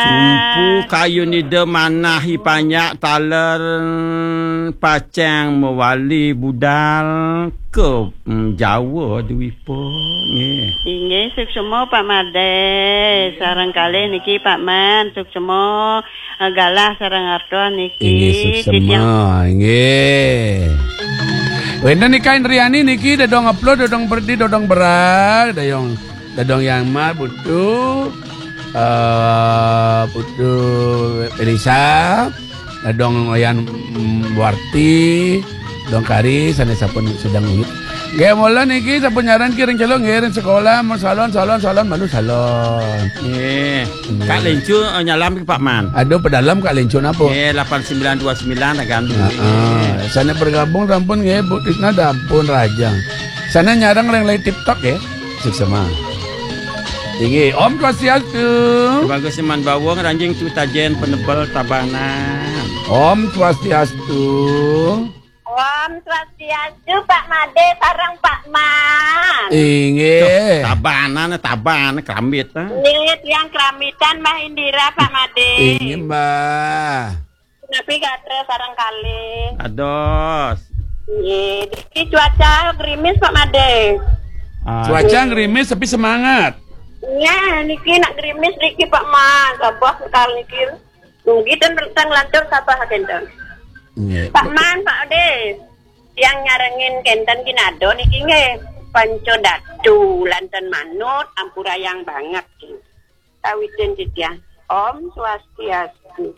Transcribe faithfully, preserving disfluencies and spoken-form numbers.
Umpu kayun ida manah i panjak taler pacang mawali budal ka, mm, Jawa Dwipa. Nggih. Inggih, suksma Pak Made. Sareng kalih niki Pak Man, suksma, eh, galah sareng arta niki. Inggih, suksma. Titiang. Inggih. Wénten Nika Indriani niki, Dadong Aplo, Dadong Perdi, Dadong Berak, Dayong, Dadong Yang Mar, Putu, eh, Putu Elisa, Dadong Oyan, mm, Warti, Dong Kari, sané sampun sedeng uyut. Nggih, mula niki sampun nyarengin ki ring Celuk, nggih, ring sekolah, mun salon, salon, salon, malu salon. Nggih. Nggih. Kak Lencu, eh, nyalam ki Pak Man. Aduh, pedalem Kak Lencu napa? Nggih, lapan sembilan dua sembilan, agam dulu. Heeh. Sané bergabung sampun nggih, Bu Tisna sampun rajang. Sané nyareng ring live TikTok nggih. Suksma. Inggih, Om Swastiastu. Bagus Iman Bawang, Ranjing Tu Tajen, Penebel Tabanan. Om Swastiastu. Om Swastiastu, Pak Made sareng Pak Man. Inggih. Tuh, tabanan, taban, kerambit, ah. Nggih, tiang keramitan, Mbah Indira, Pak Made. Inggih, Mbah. Napi gatra sareng kalih? Dados. Nggih, niki cuaca gerimis, Pak Made. Ah. Cuaca gerimis tapi semangat. Nggih, niki nak gerimis niki, Pak Man. Sabah sekali niki. Nggih, ten teng lantur sabah kenten. Nggih. Pak Man, Pak Ade. Tiang nyarengin kenten kinado niki nggih. Panca Datu lanten manut, ampurayang banget. Kawitin titiang. Om Swastiastu.